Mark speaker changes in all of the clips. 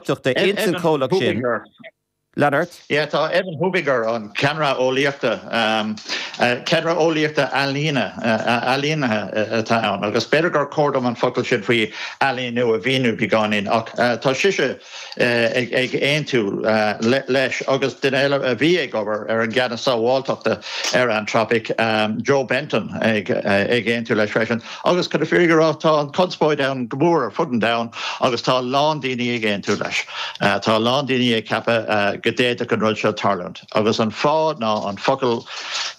Speaker 1: sábháilteachta ins an chomhlacht sin. Lean ort.
Speaker 2: Yeah, tá Evan Hubinger, an ceannaire eolaíochta, ceannaire eolaíochta ailíne, ailínithe atá ann, agus b'fhéidir gur chóir dom an focal sin faoi ailíniú a mhíniú beagáinín, ach tá sise ag aontú leis agus duine eile a bhí ag obair ar an gceannas sábháilteachta ar Anthropic, Joe Benton, ag aontú leis freisin. Agus chun na fírinne a rá, tá an chonspóid ann go mór ar fud an domhain agus tá a lán daoine ag aontú leis. Tá a lán daoine ag ceapadh go d'fhéadfadh an rud seo tarlúint. Agus an fáth ná an focal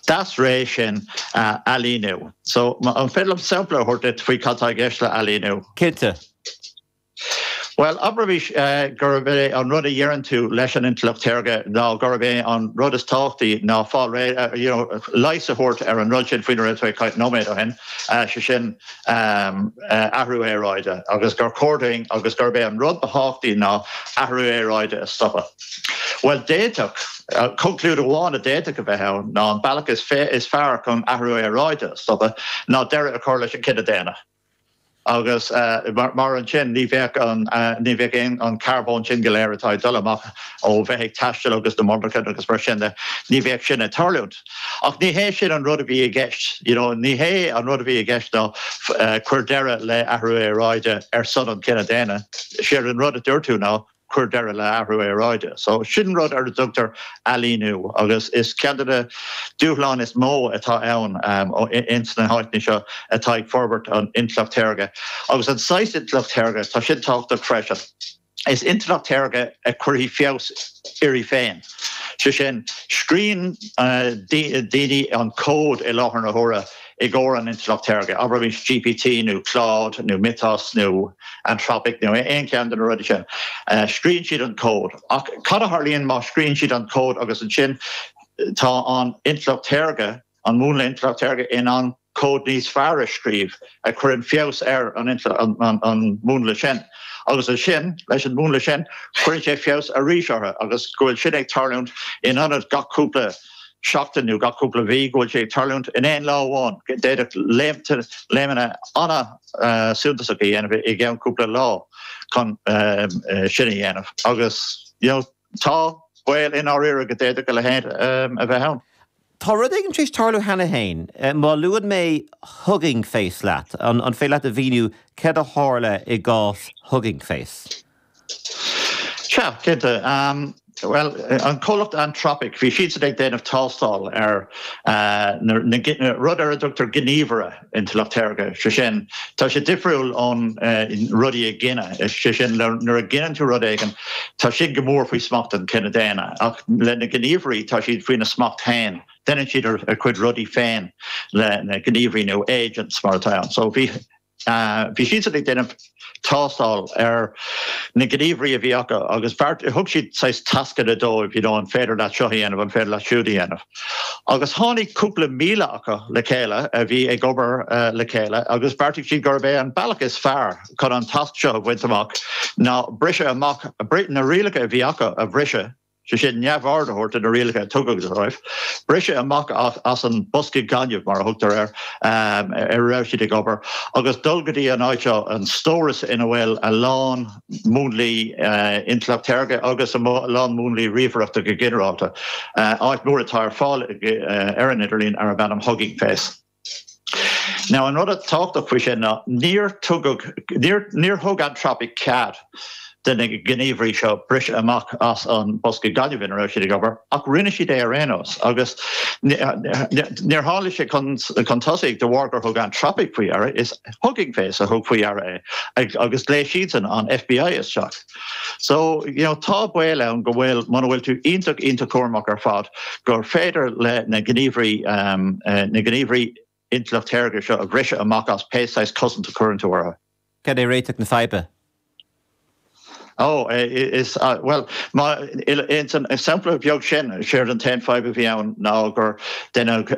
Speaker 2: deas réidh sin, ailíniú. So, an féidir liom sampla a thabhairt duit faoi cad tá i gceist le ailíniú?
Speaker 1: Cinnte.
Speaker 2: Bhuel, abraimis gurb é an rud a dheireann tú leis an intleacht shaorga ná gurb é an rud is tábhachtaí ná fáil réidh, you know, leigheas a thabhairt ar an rud sin faoina raibh tú ag caint nóiméad ó shin, sé sin athrú aeráide, agus gur chóir dúinn agus gurb é an rud ba thábhachtaí ná athrú aeráide a stopadh. Bhuel, d'fhéadfadh, conclúid amháin a d'fhéadfadh a bheith ann ná an bealach is fearr chun athrú aeráide a stopadh ná deireadh a chur leis an chine daonna. Agus mar ansin ní bheadh an, ní bheadh aon, an carbón sin go léir atá ag dul amach ó bheith ag taisteal agus na monarchana agus mar sin de, ní bheadh sin ag tarlúint. Ach ní hé sin an rud a bhí i gceist, you know, ní hé an rud a bhí i gceist ná cuir deireadh le athrú aeráide ar son an chine daonna. Séard an rud a dúirt tú ná, cuir deireadh le athrú aeráide. So sin rud ar a dtugtar ailíniú agus is ceann de na dúshláin is mó atá ann ins na háiteanna seo atá ag forbairt an intleacht shaorga. Agus an saghas intleacht shaorga, tá sin tábhachtach freisin. Is intleacht shaorga a chuirfidh feabhas uirthi féin. Sé sin, scríobhann daoine an cód i láthair na huaire i gcomhair an intleacht shaorga, abraimis GPT nó Claude nó Mythos nó Anthropic nó aon cheann de na rudaí sin. Scríobhann siad an cód. Ach cad a tharlaíonn má scríobhann siad an cód agus ansin tá an intleacht shaorga, an múnla intleacht shaorga in ann cód níos fearr a scríobh a chuireann feabhas ar an múnla sin. Agus ansin, leis an múnla sin, cuireann sé feabhas arís orthu agus go bhfuil sin ag tarlúint in ionad gach cúpla seachtain nó gach cúpla mhí, go bhfuil sé ag tarlúint in aon lá amháin. D'fhéadfadh léimeanna an-suntasach a dhéanamh i gceann cúpla lá chun sin a dhéanamh agus you know tá baol i ndáiríre go d'fhéadfadh a leithéid a bheith ann.
Speaker 1: Tá rud éigin tar éis tarlú cheana féin. Má luann mé Hugging Face leat, an féidir leat a mhíniú céard a tharla i gcás Hugging Face?
Speaker 2: Sea, cinnte. Bhuel, an comhlacht Anthropic, bhí siadsan ag déanamh tástáil ar na rud ar a dtugtar gníomhaire intleacht shaorga, sé sin, tá sé difriúil ón rudaí a ghineadh, sé sin, nuair a ghineann tú rud éigin, tá sin go mór faoi smacht an chine daonna, ach le na gníomhairí, tá siad faoina smacht féin, déanann siad a gcuid rudaí féin le na gníomhairí nó agents mar atá ann. So bhí. Bhí siadsan ag déanamh tástáil ar na gníomhairí a bhí acu agus bheart, thug siad saghas tascanna dóibh, you know, an féidir leat seo a dhéanamh, an féidir leat siúd a dhéanamh. Agus tháinig cúpla míle acu le chéile a bhí ag obair le chéile agus bheartaigh siad gurb é an bealach is fearr chun an tasc seo a bhaint amach ná briseadh amach, na rialacha a bhí acu a bhriseadh. sé sin, neamhaird a thabhairt do na rialacha a tugadh dóibh, briseadh amach as an bosca gainimh, mar a thugtar air, ar a raibh siad ag obair, agus dul go dtí an áit seo, an stóras ina bhfuil a lán múnlaí intleacht shaorga agus a lán múnlaí ríomhaireachta go ginearálta, áit mhór atá ar fáil ar an idirlíon arb ainm Hugging Face. Now an rud atá tábhachtach faoi sin ná níor tugadh, níor, níor thug Anthropic cead do na gníomhairí seo briseadh amach as an bosca gainimh ina raibh siad ag obair ach rinne siad é ar aon nós agus níor tháinig sé chun, chun tosaigh de bharr gur thug Anthropic faoi deara, is Hugging Face a thug faoi deara é agus ghlaoigh siadsan an FBI isteach. So, you know, tá baol ann go bhfuil, muna bhfuil tú iontach, iontach cúramach ar fad, gur féidir le na gníomhairí, na gníomhairí intleacht shaorga seo a bhriseadh amach as pé saghas cosaint a chuireann tú orthu.
Speaker 1: Cad é réiteach na faidhbe?
Speaker 2: Ó, is, bhuel, má, ins an sampla beag sin, séard an t-aon fadhb a bhí ann ná gur deineadh,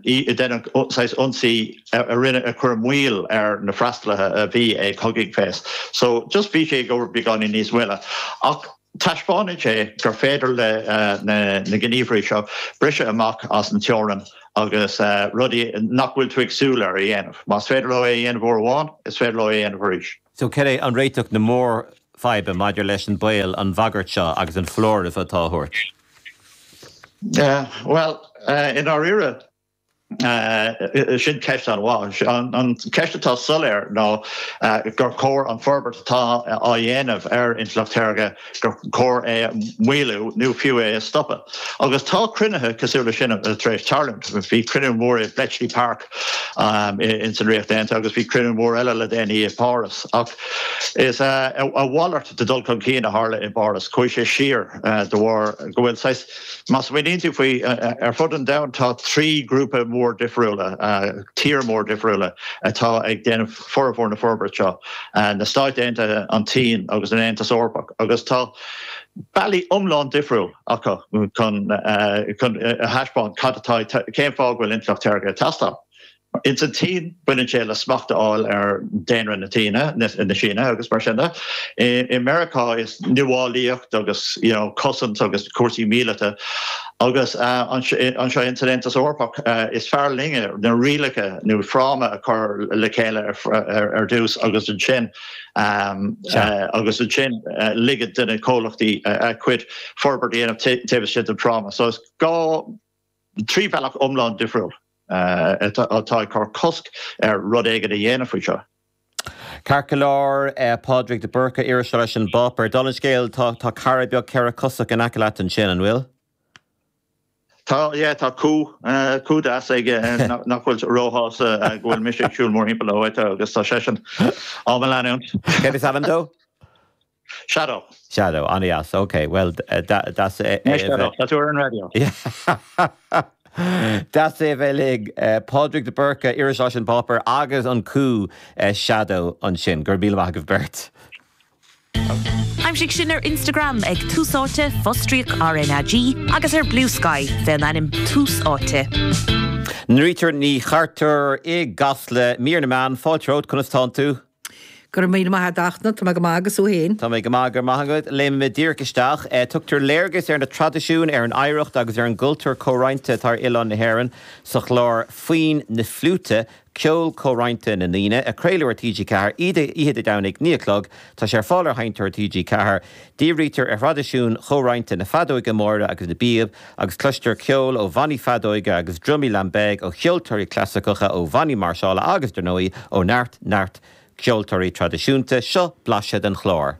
Speaker 2: deineadh saghas ionsaí a rinne, a chuir moill ar na freastalaithe a bhí ag Hugging Face. So, just bhí sé ag obair beagáinín níos moille. Ach taispeánann sé gur féidir le na gníomhairí seo briseadh amach as an teorainn agus rudaí nach bhfuil tú ag súil air a dhéanamh. Más féidir leo é a dhéanamh uair amháin, is féidir leo é a dhéanamh arís.
Speaker 1: So, cad é an réiteach na mór? faidhbe maidir leis an baol, an bhagairt seo agus an foláireamh atá á thabhairt?
Speaker 2: Bhuel, i ndáiríre, Sin ceist an-mhaith. An cheist atá soiléir ná gur chóir an forbairt atá á dhéanamh ar intleacht shaorga, gur chóir é a mhaolú nó fiú é a stopadh. Agus tá cruinnithe cosúil leis sin tar éis tarlúint. Bhí cruinniú mór i Bletchley Park ins an Ríocht Aontaithe agus bhí cruinniú mór eile le déanaí i bPáras. Ach is a mhalairt de dhul chun cinn a tharla i bPáras. Chuaigh sé siar de bharr go bhfuil saghas Má smaoiníonn tú faoi, ar fud an domhain tá 3 grúpa mór difriúla, tír mór difriúla atá ag déanamh formhór na forbairt seo, na Stáit Aontaithe, an tSín agus an Aontas Eorpach, agus tá bealaí iomlán difriúil acu chun a thaispeáint cad atá, cén fáth go bhfuil intleacht shaorga ag teastáil. Ins an tSín, baineann sé le smacht a fháil ar daonra na tSíne, na Síne agus mar sin de. I Meiriceá is nuálaíocht agus you know cosaint agus cúrsaí míleata agus anseo ins an Aontas Eorpach is fearr linne na rialacha nó fráma a chur le chéile ar dtús agus ansin agus ansin ligean do na comhlachtaí a gcuid forbairt a dhéanamh taobh istigh den fráma. So is gá 3 bhealach iomlán difriúil. atá ag cur cosc ar rud éigin a dhéanamh faoi seo.
Speaker 1: Ceart go leor, Pádraig de Búrca, iriseoir leis an bpáipéar. Dála an scéil, tá cara beag ceithre-chosach in aice leat ansin, an bhfuil?
Speaker 2: Tá, yeah, tá cú, cú deas aige nach bhfuil róshásta go bhfuil mise ag siúl mórthimpeall na háite agus tá seisean á mo leanúint.
Speaker 1: Céard is ainm dó?
Speaker 2: Shadow.
Speaker 1: Shadow, an-deas, ok, bhuel, deas é a bheith.
Speaker 2: Shadow, tá tú ar an raidió.
Speaker 1: Deas é a bheith linn. Pádraig de Búrca, iriseoir leis an bpáipéar agus an cú Shadow ansin. Go raibh míle maith agaibh beirt.
Speaker 3: Aimsigh sinn ar Instagram ag Tús Áite, fostríoc RnaG, agus ar Bluesky fén ainm Tús Áite.
Speaker 1: Norita Ní Chartúir i gCasla, mír na meán, fáilte romhat, conas tánn tú?
Speaker 4: Go raibh míle maith agat a Fhachtna, tá mé go maith agus thú féin?
Speaker 1: Tá mé go maith, go raibh maith agat. Léimfidh mé díreach isteach. Tugtar léargas ar na traidisiúin, ar an oidhreacht agus ar an gcultúr comhroinnte atá ar oileán na hÉireann sa chlár Foinn na Fliúite, Ceol Comhroinnte na nDaoine, a craoladh ar TG4 oíche Dé Domhnaigh, 9 a chlog. Tá sé ar fáil ar Sheinnteoir TG4. Dírítear ar thraidisiúin chomhroinnte na feadóige móire agus na bpíob agus cloistear ceol ó bhannaí feadóige agus drumaí lambeg, ó cheoltóirí clasaiceacha, ó bhannaí máirseála agus, dar ndóigh, ó neart, neart ceoltóirí traidisiúnta. Seo blaiseadh den chlár.